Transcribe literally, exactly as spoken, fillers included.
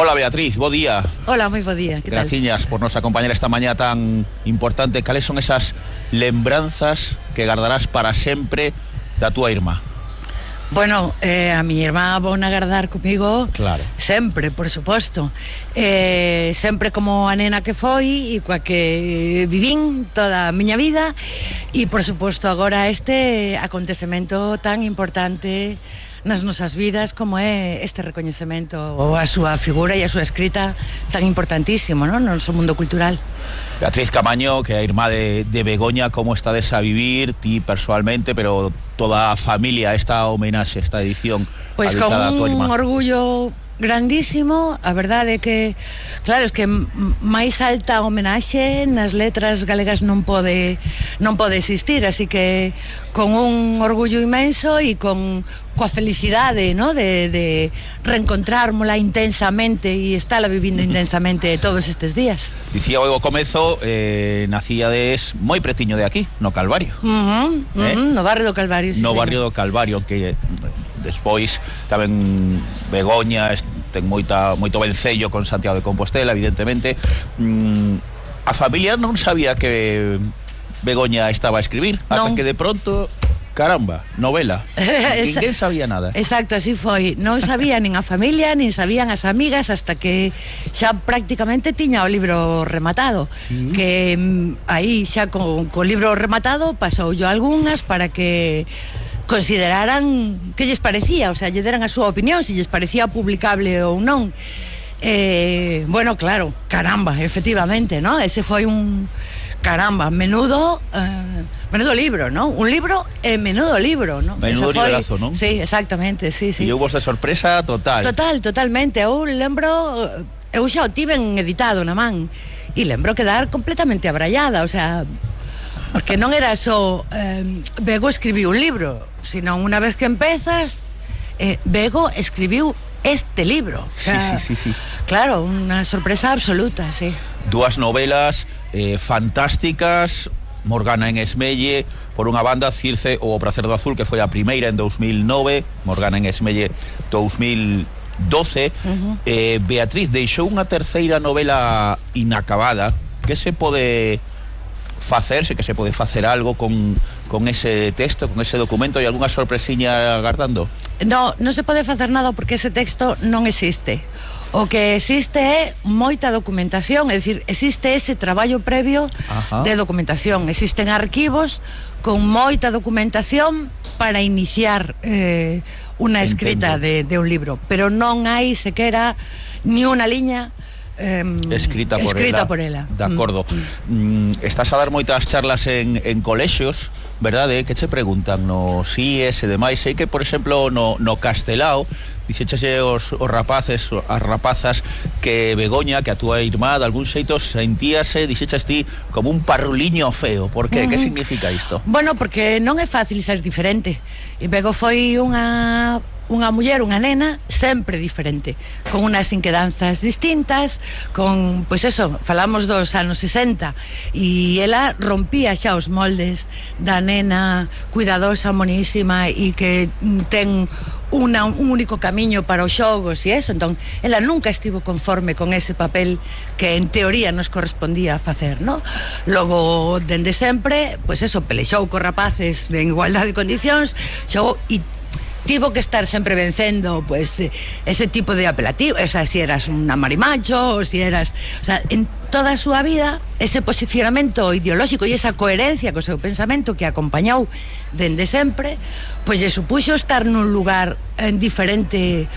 Hola Beatriz, bo día. Hola, moi bo día, que tal? Graciñas por nos acompañar esta mañá tan importante. Cales son esas lembranzas que guardarás para sempre da túa irmá? Bueno, eh, a mi irmá vou a guardar comigo. Claro. Sempre, por suposto. eh, Sempre como a nena que foi e coa que vivín toda a miña vida. E por suposto agora este acontecemento tan importante nas nosas vidas como é este recoñecemento ou a súa figura e a súa escrita tan importantísimo, non? No noso mundo cultural. Beatriz Camaño, que é a irmá de, de Begoña, como estades a vivir ti personalmente, pero toda a familia, esta homenaxe, esta edición Pois con un orgullo grandísimo. A verdade é que, claro, es que máis alta homenaxe nas letras galegas non pode non pode existir, así que con un orgullo inmenso e con coa felicidade, ¿no? de, de reencontrármola intensamente e estála vivindo intensamente todos estes días. Dicía o comezo, eh, nacíades moi pretiño de aquí, no Calvario. Uh-huh, uh-huh, eh? No barrio do Calvario, sí, No señor. barrio do Calvario, que despois tamén Begoña ten moita, moito vencello con Santiago de Compostela, evidentemente. Mm, a familia non sabía que Begoña estaba a escribir, non. Ata que de pronto, caramba, novela. Ninguén sabía nada. Exacto, así foi. Non sabía nin a familia, nin sabían as amigas, hasta que xa prácticamente tiña o libro rematado. Sí. Que mm, aí xa co, co libro rematado pasou yo algunhas para que consideraran que lles parecía, o sea, lle deran a súa opinión, se lles parecía publicable ou non. Eh, bueno, claro, caramba, efectivamente, ¿no? Ese foi un caramba, menudo eh, menudo libro, ¿no? Un libro e menudo libro, ¿no? Menudo foi, liberazo, ¿non? Sí, exactamente, sí, sí. E houve esta sorpresa total. Total, totalmente. Eu lembro, eu xa o tiven editado na man e lembro quedar completamente abraiada, o sea, porque non era só eh, Bego escribiu un libro, sino unha vez que empezas, eh, Bego escribiu este libro. O sea, sí, sí, sí, sí. Claro, unha sorpresa absoluta, sí. Dúas novelas eh, fantásticas, Morgana en Esmelle, por unha banda, Circe ou O Pracer do Azul, que foi a primeira en dous mil nove, Morgana en Esmelle dous mil doce. Uh-huh. eh, Beatriz deixou unha terceira novela inacabada. Que se pode facerse, que se pode facer algo con, con ese texto, con ese documento? E algunha sorpresiña agardando? No, non se pode facer nada porque ese texto non existe. O que existe é moita documentación, é dicir, existe ese traballo previo. Ajá. De documentación. Existen arquivos con moita documentación para iniciar eh, unha escrita de, de un libro, pero non hai sequera ni unha liña Eh, escrita por escrita ela, por ela. De acordo. mm. Mm, Estás a dar moitas charlas en, en colexios, verdade? Que che preguntan no C I E S e demais. Sei que, por exemplo, no, no Castelao dixeche os, os rapaces, as rapazas, que Begoña, que a túa irmá, de algún xeito sentíase, dixeches ti, como un parruliño feo. Por que? Uh-huh. Que significa isto? Bueno, porque non é fácil ser diferente. E Bego foi unha unha muller, unha nena sempre diferente, con unas inquedanzas distintas, con, pois eso, falamos dos anos sesenta, e ela rompía xa os moldes da nena cuidadosa, monísima e que ten Una, un único camiño para os xogos e eso. Entón, ela nunca estivo conforme con ese papel que en teoría nos correspondía facer, ¿no? Logo, dende sempre, pois eso, pelexou cos rapaces en igualdade de condicións, xogou e tivo que estar sempre vencendo pues, ese tipo de apelativo, o sea, si eras una marimacho, o si eras, o sea, en toda a súa vida ese posicionamento ideolóxico e esa coherencia co seu pensamento que acompañou dende sempre, pois lle supuxo estar nun lugar en diferente